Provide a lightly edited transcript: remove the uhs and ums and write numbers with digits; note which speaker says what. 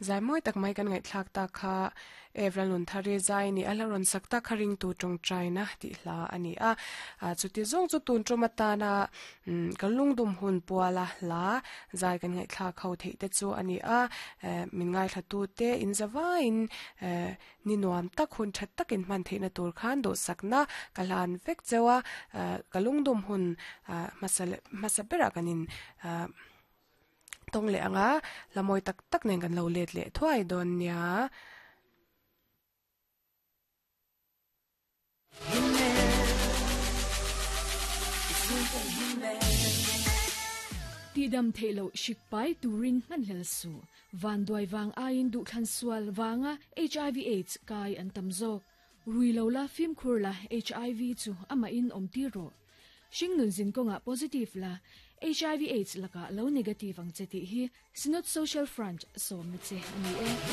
Speaker 1: Zai mawi tak mai kan ngaihthlak tak kha Evra Lunthari zai ni a la rawn sak tak kha ringtu tawngtaina tih hla a ni a. Chuti zawng chu tun tum atana kan lungdum hun puala hla zai kan ngaihthlak ho theih te chu a ni a. Min ngaithlatu te in zavaiin ni nuam tak hun tha takin hman theihna tur khan duhsakna ka hlan vek cheu a. Ka lungdum hun hmasa hmasa berah kan in Tawng leh anga hla mawi tak tak nen kan lo let leh thuai dawn nia.
Speaker 2: Tihdam theih loh hrik pai turin hmanhlel suh. Vanduai vang aiin duhthlan sual vanga hiv aids kai an tam zawk. Rui lo la fimkhur la hiv chu amahin awm tir rawh. Hringnun zin kawngah positive la, hiv aids lakah lo negative ang che tih hi Synod Social Front sawmna che a ni e.